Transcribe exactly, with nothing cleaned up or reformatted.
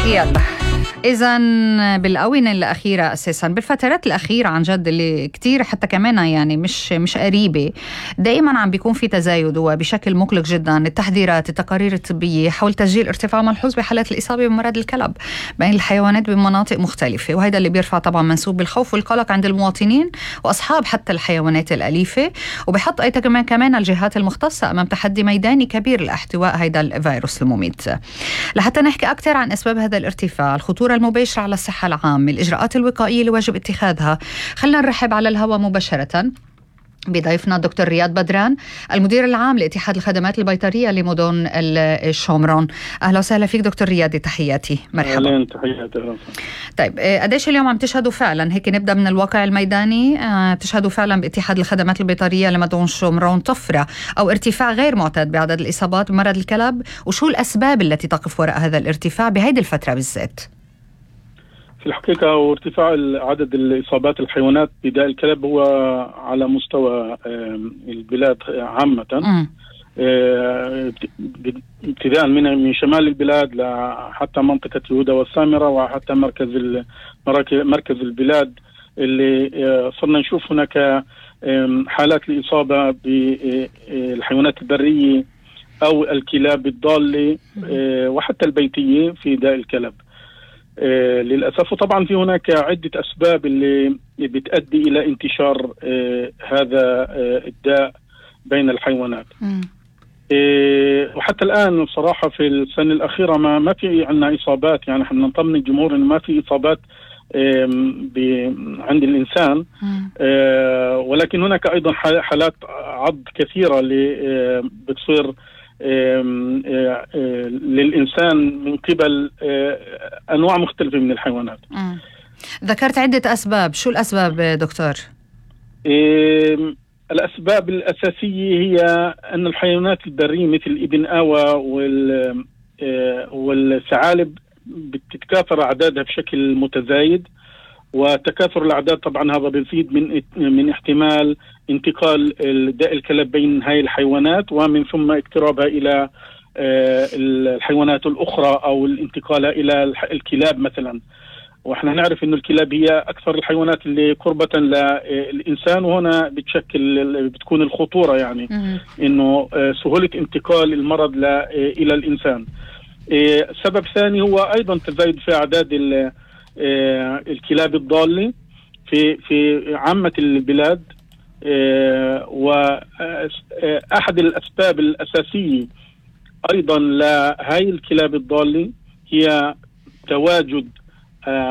يلا إذن بالآونة الأخيرة أساساً بالفترات الأخيرة عن جد اللي كتير حتى كمان يعني مش مش قريبة دائماً عم بيكون في تزايد وبشكل مقلق جداً التحذيرات التقارير الطبية حول تسجيل ارتفاع ملحوظ بحالات الإصابة بمرض الكلب بين الحيوانات بمناطق مختلفة، وهذا اللي بيرفع طبعاً منسوب بالخوف والقلق عند المواطنين وأصحاب حتى الحيوانات الأليفة، وبيحط أيضاً كمان كمان الجهات المختصة أمام تحدي ميداني كبير لاحتواء هذا الفيروس المميت. لحتى نحكي أكثر عن أسباب هذا الارتفاع، الخطورة المباشرة على الصحة العامة، الإجراءات الوقائية اللي واجب اتخاذها، خلنا نرحب على الهواء مباشرة بضيفنا دكتور رياض بدران المدير العام لاتحاد الخدمات البيطرية لمدن الشومرون. أهلا وسهلا فيك دكتور رياض، تحياتي، مرحبا. أهلا، تحياتي. طيب قديش اليوم عم تشهدوا فعلا هيك نبدأ من الواقع الميداني تشهدوا فعلا باتحاد الخدمات البيطرية لمدن شومرون طفرة أو ارتفاع غير معتاد بعدد الإصابات بمرض الكلب، وشو الأسباب التي تقف وراء هذا الارتفاع بهيدي الفترة بالذات؟ في الحقيقة وارتفاع عدد الإصابات الحيوانات بداء الكلب هو على مستوى البلاد عامة، ابتداء من من شمال البلاد حتى منطقة يهودا والسامرة وحتى مركز مركز البلاد اللي صرنا نشوف هناك حالات الإصابة بالحيوانات البرية أو الكلاب الضالة وحتى البيتية في داء الكلب. آه للأسف، وطبعا في هناك عدة أسباب اللي بتؤدي إلى انتشار آه هذا آه الداء بين الحيوانات. آه وحتى الآن بصراحة في السنة الأخيرة ما ما في عندنا إصابات، يعني احنا نطمن الجمهور إنه ما في إصابات عند الإنسان، آه ولكن هناك أيضا حالات عض كثيرة اللي بتصير للإنسان من قبل أنواع مختلفة من الحيوانات. مم. ذكرت عدة أسباب، شو الأسباب دكتور؟ الأسباب الأساسية هي أن الحيوانات البرية مثل الإبن آوى والثعالب بتتكاثر أعدادها بشكل متزايد، وتكاثر الأعداد طبعا هذا بيزيد من من احتمال انتقال داء الكلب بين هاي الحيوانات ومن ثم اقترابها إلى الحيوانات الأخرى أو الانتقالها إلى الكلاب مثلا. وإحنا نعرف إنه الكلاب هي أكثر الحيوانات اللي قربة للإنسان، وهنا بتشكل بتكون الخطورة يعني إنه سهولة انتقال المرض إلى الإنسان. سبب ثاني هو أيضا تزايد في أعداد الكلاب الضالة في في عامة البلاد، وأحد الأسباب الأساسية أيضا لهاي الكلاب الضالة هي تواجد